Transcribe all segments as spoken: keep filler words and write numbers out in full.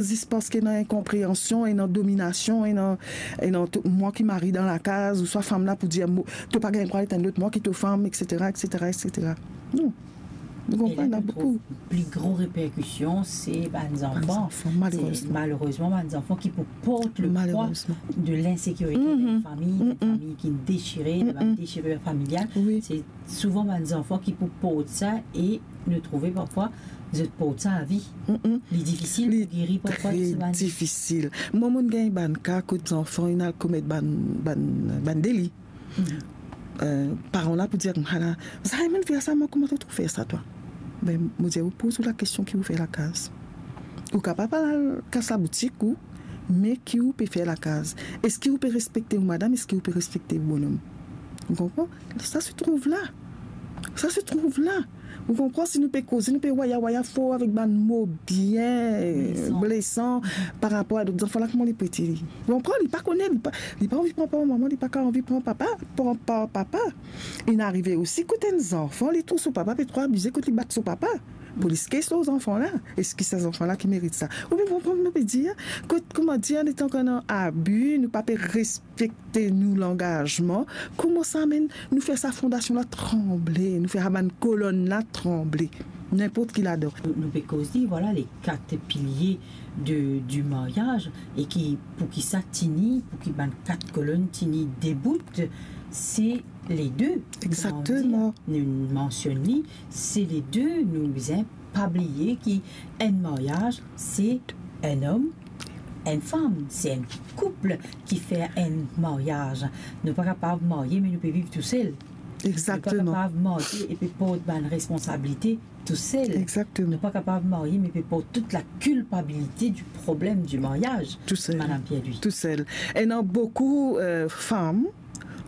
zis parski ena inkonpreansion, ena dominasion, ena, ena to, mwa ki mari dan lakaz, ouswa fam la pou dir, mo, to pa gagn drwa etenn lot mwa ki to fam, et cetera, et cetera, et cetera. Non. Ou konpran, ena boukou. E la nou trouv pli gro reperkision, se bann zanfan. Bann zanfan, malerezman. Se malerezman bann zanfan ki pou port le pwa de lensekirite dan enn fami, enn fami ki dechire, dan bann dechirur familial. Wi. Se souvan bann zanfan ki pou port sa e nou trouve parfwa zot port sa avi. Li difisil pou geri parfwa de sa bann. Difisil. Mwa, mo'nn gagn bann ka kot zanfan inn al komet bann, bann, bann deli. Eh, paran la pou dir, "Ala, zame mo'nn fer sa, mwa, kouma to trouv fer sa, twa?" Be, mo dir, ou poz ou lakestion ki ou fer lakaz. Ou kapav al kas laboutik ou, me ki ou pe fer lakaz? Eski ou pe respekte ou madam? Eski ou pe respekte ou bonom? Ou konpran? Sa se trouv la. Sa se trouv la. Ou konpran, si nou pe koze, nou pe waya waya for avek bann mo bien blesan par rapor a lot zanfan la, kouma li pe dir li. Ou konpran, li pa kone, li pa, li pa anvi pran par mama, li pa ka anvi pran papa, pran par papa. Inn arive osi kot enn zanfan, li trouv so papa pe tro abize kot li bat so papa. Polis kes lor zanfan la. Eski sa zanfan la ki merit sa? Ou bien konpran, nou pe dir, kot, kouma dir, letan ki ena abi, nou pa pe respekte nou langazman, kouma sa amenn nou fer sa fondasion la tranble, nou fer sa bann kolonn la tranble, ninport ki ladan. Nou, nou pe koz li, vwala, le kat pilie de, di maryaz, e ki, pou ki sa tini, pou ki bann kat kolonn tini debout, se le de. Exakteman. Kouma dir, nou mansionn li, se le de, nou bizin pa bliye ki enn maryaz, se enn om, enn fam, se enn koup ki fer enn maryaz. Nou pa kapav marye, me nou pe viv tousel. Exakteman. Nou pa kapav marye e pe port bann responsabilite tousel. Exakteman. Nou pa kapav marye, me pe port tout lakilpabilite di problem di maryaz. Tousel. Madam Pierre-Louis. Tousel. Ena boukou, eh, fam,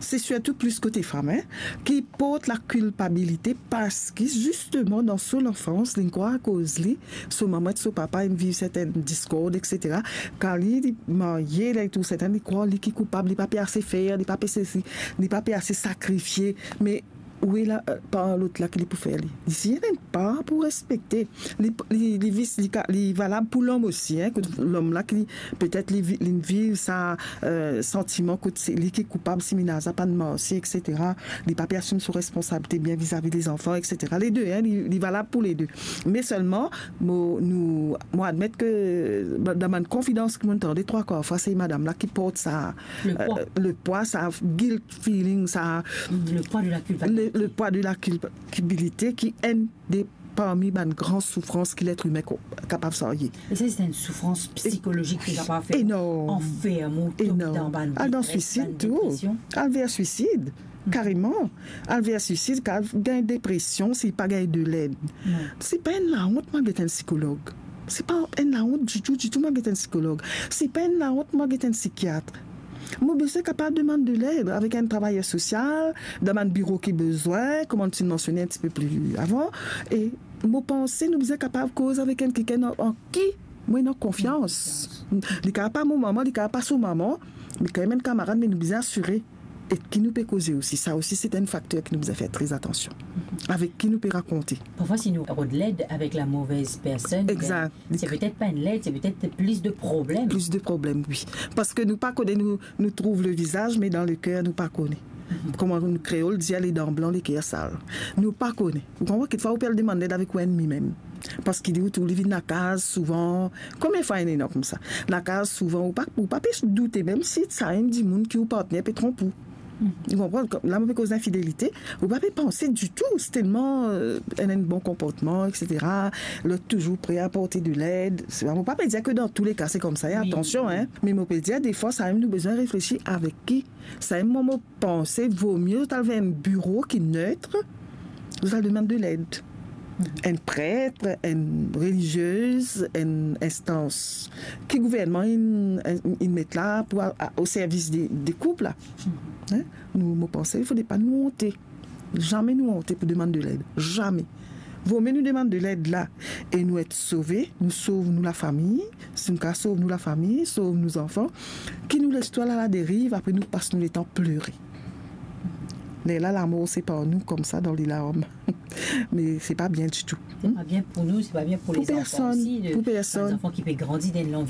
se sirtou plis kote fam, hein, ki port lakilpabilite parski, zisteman, dan so lanfans, li krwar akoz li, so mama ek so papa inn viv sertenn diskord, et cetera. Kan li, li marye, li trouv sertenn, li krwar li ki koupab, li pa pe ase fer, li pa pe sesi, li pa pe ase sakrifie. Me ou ena, eh, par lot la ki li pou fer li. Li siy enn par pou respekte. Li, li, li vis-, li ka, li valab pou lom osi, hein, kot lom la ki petet li vi-, li viv sa, eh, santiman kot se li ki koupab si menaz la pa'nn marse, et cetera. Li pa pe asim so responsabilite bien vizavi lezanfan, et cetera. Le de, hein, li, li valab pou le de. Me selman, mo, nou, mo admet ke dan bann konfidans ki mo'nn tande, trwa kwar fwa, se madam la ki port sa, le pwa, eh, le pwa, sa guilt feeling, sa, le pwa de la kilpabilite. Le, le pwa de la kilpabilite ki enn de parmi bann gran soufrans ki letr imin ko-, kapav sarye. E sa, se enn soufrans psikolozik ki kapav fer anferm ou, tonbe dan bann depresion. Al dan swisid tou. Al ver swisid, kareman. Al ver swisid, kan al gagn depresion, si li pa gagn de led. Se pa enn laont, mo al get enn sikolog. Se pa enn laont ditou, ditou, mo al get enn sikolog. Se pa enn laont, mo al get enn sikiat. Mo bizin kapav demann de led avek enn travayer sosial, dan bann biro ki bizin, kouma nou ti mansione enn tipe pli avan, e mo panse nou bizin kapav koz avek enn kikenn an, an ki mo ena konfians. Li kapav pa mo mama, li kapav pa so mama, li kapav enn kamarad, me nou bizin asire. E ki nou pe koze osi, sa osi se enn fakter ki nou bizin fer tre atansion. Avek ki nou pe rakonte. Parfwa, si nou rod led avek lamove personn, se petet pa enn led, se petet plis de problem. Plis de problem, wi. Parski nou pa kone, nou, nou trouv le vizaz, me dan leker, nou pa kone. Kouma nou kreol dir, ledan blan, leker sal. Nou pa kone. Ou konpran, kikfwa ou pe al demann led avek ou ennmi mem. Parski li, ou trouv li vinn lakaz souvan. Konbien fwa ena koumsa? Lakaz souvan, ou pa, ou pa pe doute mem si sa enn dimoun ki ou partner pe tronp ou. Ou konpran? La, mo pe koz linfidelite, ou pa pe panse ditou, se telman, eh, ena enn bon konportman, et cetera. Lot touzour pre a porte de led. Se pa, mo pa pe dir ke dan tou le ka se koumsa, e atansion, hein. Me mo pe dir, defwa, sa mem nou bizin reflesi avek ki. Sa mem, mo, mo panse, vomie zot al ver enn biro ki net, zot al demann de led. Enn pret, enn reliziez, enn instans ki gouvernman inn, inn met la pou a, a, o servis de, de koup la. Hein? Nou, mo panse, fode pa nou onte. Zame nou onte pou demann de led. Zame. Vomie nou demann de led la e nou et sove, nou sov nou lafami, si nou kapav sov nou lafami, sov nou zanfan, ki nou les twa aladeriv, apre nou pas nou letan plere. Lerla lamor separ nou koumsa dan lelarm. Me se pa bien ditou. C'est pas bien pour nous, c'est pas bien pour, Pour les enfants personne, aussi, de, pour personne. Les enfants qui peuvent grandir dans l'environnement